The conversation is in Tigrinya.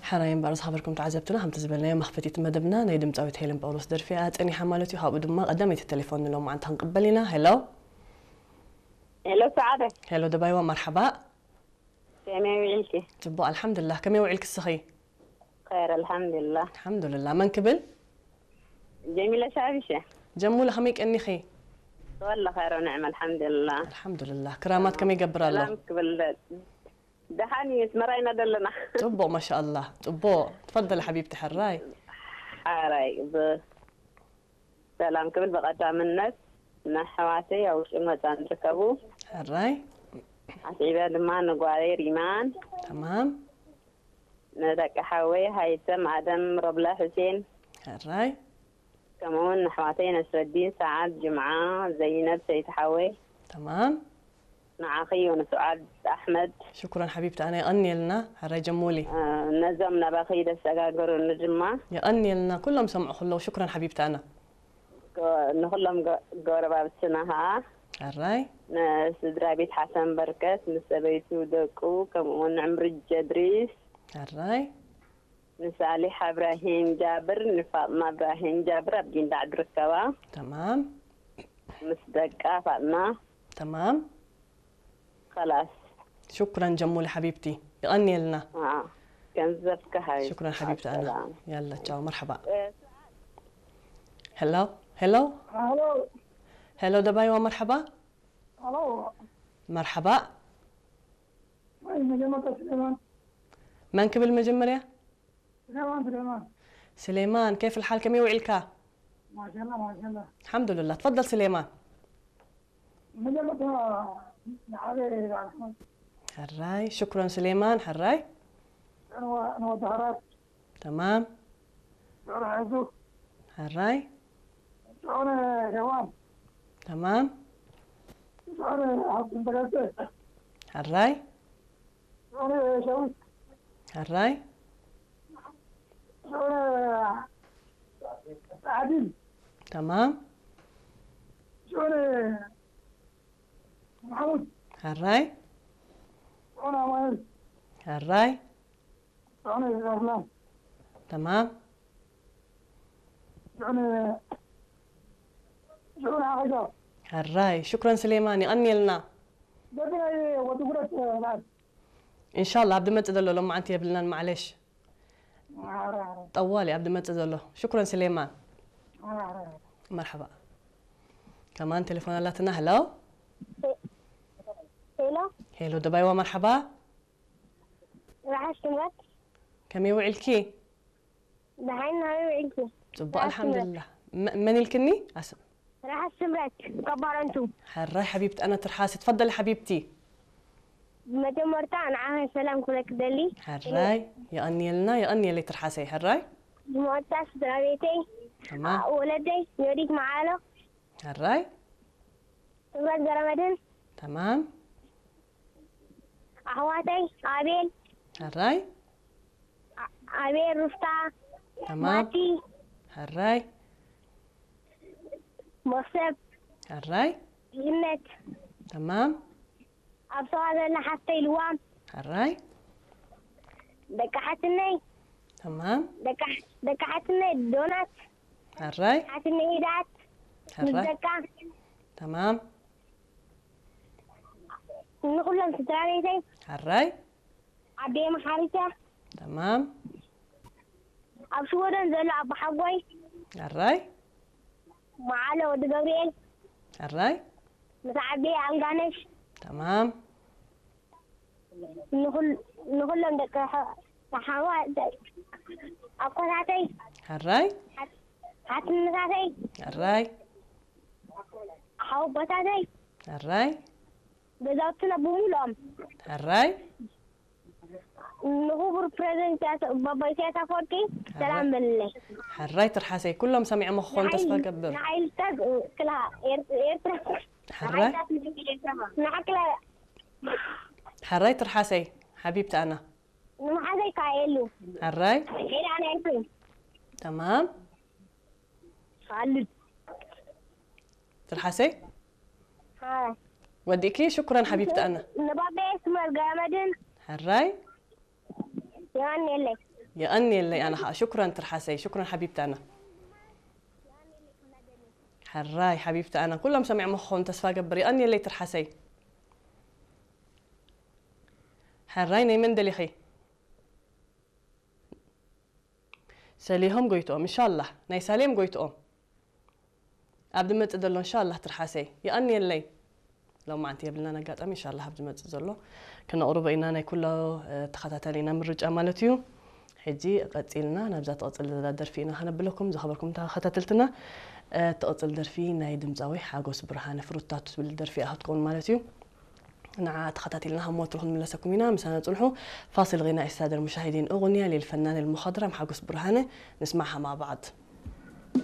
ሓራይ እምበኣር ዝኸበርኩም ተዓዘብትና፣ ከምቲ ዝበልናዮ መኽፈቲት መደብና ናይ ድምፃዊት ሄለን ጳውሎስ ደርፊ እያ ጸኒሓ ማለት እዩ። ካብኡ ድማ ቀዳመይቲ ቴሌፎን ንሎማዓንቲ ክንቅበል ኢና። ሄሎ። ሄሎ ሰዓደ። ሄሎ ደባይዋ፣ መርሓባ። ከመይ ውዒልኪ? ጽቡቕ ኣልሓምዱሊላህ። ከመይ ውዒልኪ እስኺ? ኸይር ኣልሓምዱሊላህ። ኣልሓምዱሊላህ። መን ክብል? ጀሚለ ሻቢሸ። ጀሙለ ከመይ ቀኒኺ? ወላ ኸይር ንዕም ኣልሓምዱሊላህ። ኣልሓምዱሊላህ። ክራማት ከመይ ይገብር ኣሎ? ሰላም ክብል። ደሓን እዩ፣ ኣስመራ ኢና ዘለና። ጽቡቕ ማሻኣላህ ጽቡቕ። ትፈደል ሓቢብቲ ሕራይ። ሓራይ ብሰላም ክብል ብቐዳምነት ንኣሕዋተይ ኣብ ውሽጥን ወፃን ዝርከቡ ሕራይ። ኣስዒበ ድማ ንጓለይ ሪማን ተማም። ንደቂ ሓወይ ሃይተም ኣደም ሮብላ ሑሴን ሕራይ። ከምኡ እውን ንኣሕዋተይ ነስረዲን ሰዓድ ጅምዓ ዘይነብ ሰይቲ ሓወይ ተማም። ንዓኺ ዮንስዓድ ኣሕመድ ሽኩረን ሓቢብቲ ኣነ የቐንየልና። ሕራይ ጀሙሊ። ነዞም ናባኺ ደሰጋገሩኒ ድማ የቐንየልና ኩሎም ሰምዑ ከለዉ ሽኩረን ሓቢብቲ ኣነ። ንኩሎም ጎረባብትና ከዓ ሕራይ። ንስድራ ቤት ሓሰን በርከት፣ ንሰበይቱ፣ ደቁ፣ ከምኡ እውን ንዕምርጀ ድሪስ፣ ሕራይ። ንሳሊሕ እብራሂም ጃብር፣ ንፋጥማ እብራሂም ጃብር ኣብ ጊንዳዕ ዝርከባ ተማም። ምስ ደቃ ፋጥማ ተማም። خلاص ሽኩረን ጀሙሊ ሓቢብቲ። ይቐንየልና። አ ገንዘብካ ሃይ ሽኩረን ሓቢብቲ ኣና ሰላም። ያላ ቻው መርሓባ። ሄሎ ሄሎ ሄሎ ሄሎ ደባይዋ መርሓባ። ሄሎ መርሓባ። ወይ መጀመርታ ስሌማን መን ክብል መጀመርያ? ስሌማን ስሌማን ስሌማን كيف الحال ከመይ ውዒልካ? ማሻላ ማሻላ الحمد لله تفضل سليمان. መጀመርታ ንዓበ ኣሕመድ ሕራይ ሽኩረን ስሌማን ሕራይ። ንወዲ ሓራት ተማም። ሽዑር ሓዙ ሕራይ ሽዑር ሄዋን ተማም። ሽዑር ሃብትን ተጋጨ ሕራይ ሽዑር ሸዊት ሕራይ ሽዑር ዓዲል ተማም። ሽዑር ማሕሙድ ሕራይ ሽዑር ኣማኑኤል ሕራይ ሽዑር ኣስላም ተማም። ሽዑር ሽዑር ዓቂጋ ሕራይ ሽኩረን ስሌማን ይቐንየልና። በብናይ ወዲ ጉረት በዓል እንሻላ ኣብ ድመጽእ ዘሎ ሎማዓንቲ የብልናን ማዕለሽ። ጠዋሊ ኣብ ድመጽእ ዘሎ ሽኩረን ስሌማን። መርሓባ። ከማን ቴሌፎን ኣላትና። ሄሎ ሄሎ ሄሎ ደባይዋ መርሓባ። ራሓሽ ትምረት ከመይ ውዒልኪ? ደሓን ናበይ ውዒልኪ? ጽቡቕ ኣልሓምዱሊላህ። መ- መን ኢልክኒ? ኣስ- ራሓሽ ትምረት ካብ ባረንቱ። ሕራይ ሓቢብቲ ኣነ ትርሓስ ትፈደሊ ሓቢብቲ። ብመጀመርታ ንዓኸ ሰላም ክብለክ ደሊ። ሕራይ የቐንየልና የቐንየለይ ትርሓሰይ ሕራይ። ብመወዳእታ ስድራ ቤተይ ተማም ወለደይ ዮዲት መዓሎ ሕራይ ትምረት ገረመድን ተማም ኣሕዋተይ ኣቤል ሕራይ ኣቤል ሩፍታ ተማም ማቲ ሕራይ መክሰብ ሕራይ ይነት ተማም ኣብ ሰዋ ዘላ ሓፍተይ ልዋም ሕራይ ደቂ ሓትነይ ተማም ደቂ ደቂ ሓትነይ ዶናት ሕራይ ሓትነይ ሂዳት ምስ ሕራይ ደቃ ተማም ንኩሎም ስድራ ቤተይ ሕራይ ዓደየ መሓሪተ ተማም ኣብ ሽወደን ዘሎ ኣቦሓጎይ ሕራይ መዓለ ወዲ ገብርኤል ሕራይ ምስ ዓደየ ኣልጋነሽ ተማም ንኹል- ንኹሎም ደቂ ኣሓዋ ኣኮታተይ ሕራይ ሓትነታተይ ሕራይ ሓወቦታተይ ሕራይ ገዛውትና ብምሉኦም ሕራይ ንክቡር ፕሬዚደንት ኢሳያስ- ባባ ኢሳያስ ኣፈወርቂ ሰላም በልለይ። ሕራይ ትርሓሰይ ኩሎም ሰሚዖም ክኾኑ ተስፋ ገብር ንሓይልታት ክልሃ ኤርትራ ሕራይ ንሓክላ ሕራይ ትርሓሰይ ሓቢብቲ ኣና ንመሓዘይ ካየሉ ሕራይ ሄዳ ናይ ኤርትራ ተማም ካልድ ትርሓሰይ ሃ- ወዲእኪ ሽኩረን ሓቢብቲ ኣና ንባባየ ስመር ገመድን ሕራይ የቀንየለይ። የቐንየለይ ኣነ ኸዓ። ሽኩረን ትርሓሰይ፣ ሽኩረን ሓቢብቲ ኣና። ሕራይ ሓቢብቲ ኣና፣ ኩሎም ሰሚዖሞ ክኾኑ ተስፋ ገብር። የቐንየለይ ትርሓሰይ። ሕራይ ናይ መን ደሊኺ? ሰሊሆም ጎይትኦም፣ እንሻላህ ናይ ሳሌም ጎይትኦም። ኣብ ዝመጽእ ዘሎ እንሻላህ ትርሓሰይ። የቐንየለይ። ሎማዓንቲ የብልናን ኣጋጣሚ፣ እንሻላህ ኣብ ዝመጽእ ዘሎ ክነቕርቦ ኢና ናይ ኩሎ ተኸታተሊና ምርጫ ማለት እዩ። ሕጂ ቀጺልና ናብዛ ትቕጽል ዘላ ደርፊ ኢና ከነብለኩም። ዝኸበርኩም ተኸታተልትና፣ ትቕጽል ደርፊ ናይ ድምጻዊ ሓጎስ ብርሃነ ፍሩታቱ ትብል ደርፊ እያ ክትከውን ማለት እዩ። ንዓ ተኸታቲልና ከም ወትሩ ክንምለሰኩም ኢና። ምሳና ጽንሑ። فاصل غنائي السادة المشاهدين، أغنية للفنان المخضرم حاجوس برهانة، نسمعها مع بعض.